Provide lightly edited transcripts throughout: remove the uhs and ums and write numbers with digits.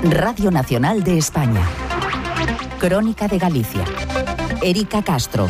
Radio Nacional de España. Crónica de Galicia. Erika Castro.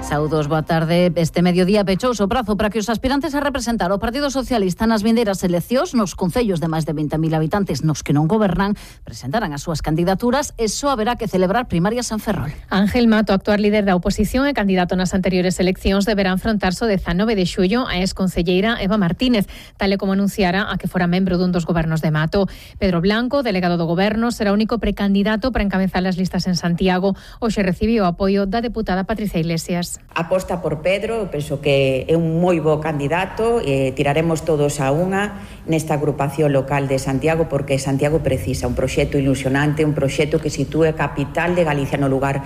Saúdos, boa tarde. Este mediodía pechouse o prazo para que os aspirantes a representar o Partido Socialista nas vindeiras eleccións nos concellos de máis de 20.000 habitantes nos que non gobernan presentaran as súas candidaturas e só haberá que celebrar primarias en Ferrol. Ángel Mato, actual líder da oposición e candidato nas anteriores eleccións, deberá enfrontarse o 19 de xullo a exconcelleira Eva Martínez, tal e como anunciara a que fora membro dun dos gobernos de Mato. Pedro Blanco, delegado do goberno, será o único precandidato para encabezar as listas en Santiago. Hoxe recibiu o apoio da deputada Patricia Iglesias. Aposta por Pedro, penso que é un moi bo candidato e tiraremos todos a unha nesta agrupación local de Santiago porque Santiago precisa un proxecto ilusionante, un proxecto que sitúe a capital de Galicia no lugar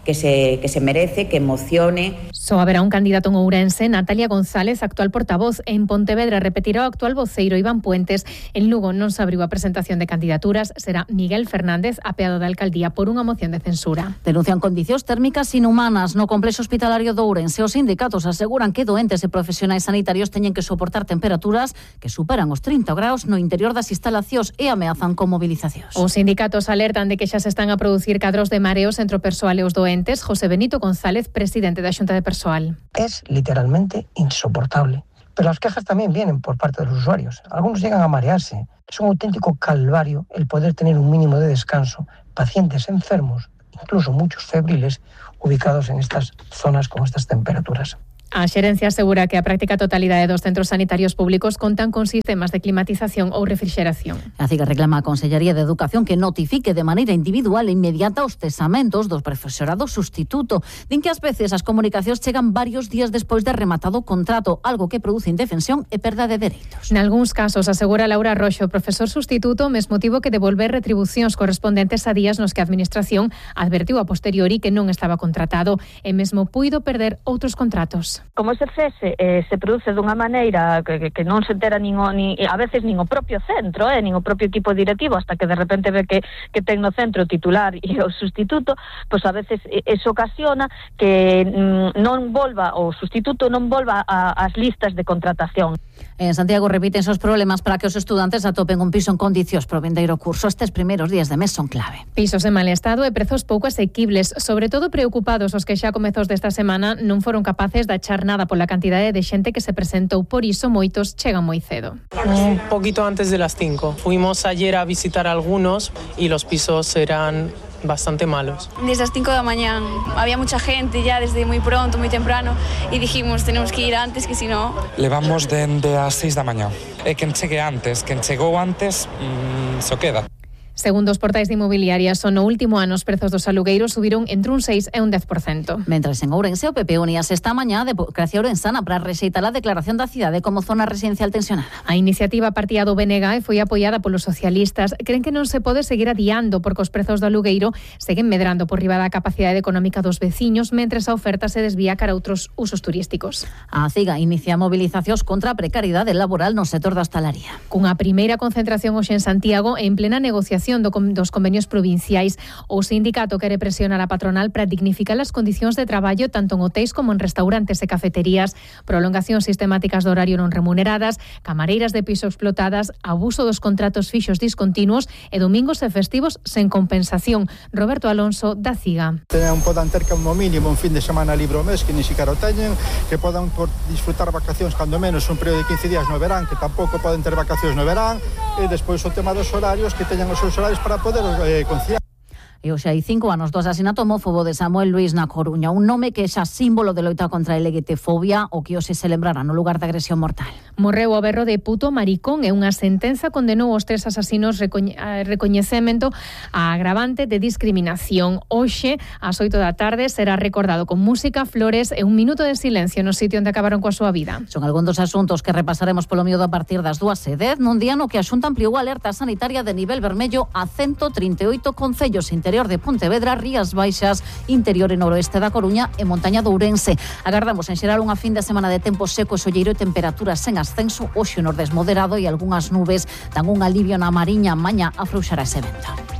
que se merece, que emocione. Só haberá un candidato en Ourense, Natalia González, actual portavoz. En Pontevedra repetirá o actual voceiro Iván Puentes. En Lugo non se abriu a presentación de candidaturas. Será Miguel Fernández, apeado da alcaldía por unha moción de censura. Denuncian condicións térmicas inhumanas no complexo hospitalario de Ourense. Os sindicatos aseguran que doentes e profesionais sanitarios teñen que soportar temperaturas que superan os 30 graus no interior das instalacións e ameazan con movilizacións. Os sindicatos alertan de que xa se están a producir cadros de mareos entre o persoal e os doentes. José Benito González, presidente da Xunta de Persoal. Es literalmente insoportable. Pero las quejas también vienen por parte de los usuarios. Algunos llegan a marearse. Es un auténtico calvario el poder tener un mínimo de descanso. Pacientes enfermos, incluso muchos febriles, ubicados en estas zonas con estas temperaturas. A xerencia asegura que a práctica totalidade dos centros sanitarios públicos contan con sistemas de climatización ou refrixeración. A CIGA reclama a Consellería de Educación que notifique de maneira individual e inmediata os cesamentos dos profesorado sustituto. Din que ás veces as comunicacións chegan varios días despois de rematado o contrato, algo que produce indefensión e perda de dereitos. Nalgúns casos, asegura Laura Roxo, profesor sustituto, mesmo tivo que devolver retribucións correspondentes a días nos que a Administración advertiu a posteriori que non estaba contratado e mesmo puido perder outros contratos. Como ese cese se produce dunha maneira que non se entera a veces nin o propio centro, nin o propio equipo directivo, hasta que de repente ve que ten no centro o titular e o sustituto, pois a veces eso ocasiona que o sustituto non volva ás listas de contratación. En Santiago repítense os problemas para que os estudantes atopen un piso en condicións pro vindeiro curso. Estes primeiros días de mes son clave. Pisos en mal estado e prezos pouco asequibles, sobre todo preocupados os que xa a comezos desta semana non foron capaces de achar nada pola cantidade de xente que se presentou, por iso moitos chegan moi cedo. Un poquito antes de las 5. Fuimos ayer a visitar algunos y los pisos eran bastante malos. Desde las 5 de la mañana había mucha gente ya desde muy pronto, muy temprano y dijimos tenemos que ir antes que si no... Levamos dende as 6 da mañá. E quen chegou antes, só queda. Segundo os portais de inmobiliarias, no último ano os prezos dos alugueiros subiron entre un 6 e un 10%. Mentras en Ourense o PP uníase esta mañá de Democracia Ourensana para rexeitar a declaración da cidade como zona residencial tensionada. A iniciativa partía do BNG e foi apoiada polos socialistas. Creen que non se pode seguir adiando porque os prezos do alugueiro seguen medrando por riba da capacidade económica dos veciños, mentres a oferta se desvía cara a outros usos turísticos. A CIGA inicia movilizacións contra a precariedade laboral no sector da hostalaría. Cunha primeira concentración hoxe en Santiago e en plena negociación dos convenios provinciais, o sindicato quere presionar a patronal para dignificar as condicións de traballo tanto en hotéis como en restaurantes e cafeterías, prolongacións sistemáticas do horario non remuneradas, camareiras de piso explotadas, abuso dos contratos fixos discontinuos e domingos e festivos sen compensación. Roberto Alonso, da CIGA. Podan ter como mínimo un fin de semana libre ao mes, que ni siquiera o teñen, que podan disfrutar vacacións cando menos un período de 15 días no verán, que tampouco poden ter vacacións no verán, e despois o tema dos horarios, que teñan os seus horarios para poder conciliar. E hoxe hai 5 anos do asasinato homófobo de Samuel Luís na Coruña, un nome que é xa símbolo de loita contra a LGTfobia, o que hoxe se lembrará no lugar da agresión mortal. Morreu o berro de puto maricón e unha sentenza condenou os 3 asasinos recoñecemento a agravante de discriminación. Hoxe, ás 8 da tarde, será recordado con música, flores e un minuto de silencio no sitio onde acabaron coa súa vida. Son algún dos asuntos que repasaremos polo miedo a partir das 2:10, nun día no que a Xunta ampliou a alerta sanitaria de nivel vermello a 138 concellos interior de Pontevedra, Rías Baixas, interior e noroeste da Coruña e montaña de Ourense. Agardamos en xeral unha fin de semana de tempo seco e solleiro e temperaturas sen ascenso, hoxe o nordés moderado e algunhas nubes dan un alivio na Mariña, mañá afrouxará ese vento.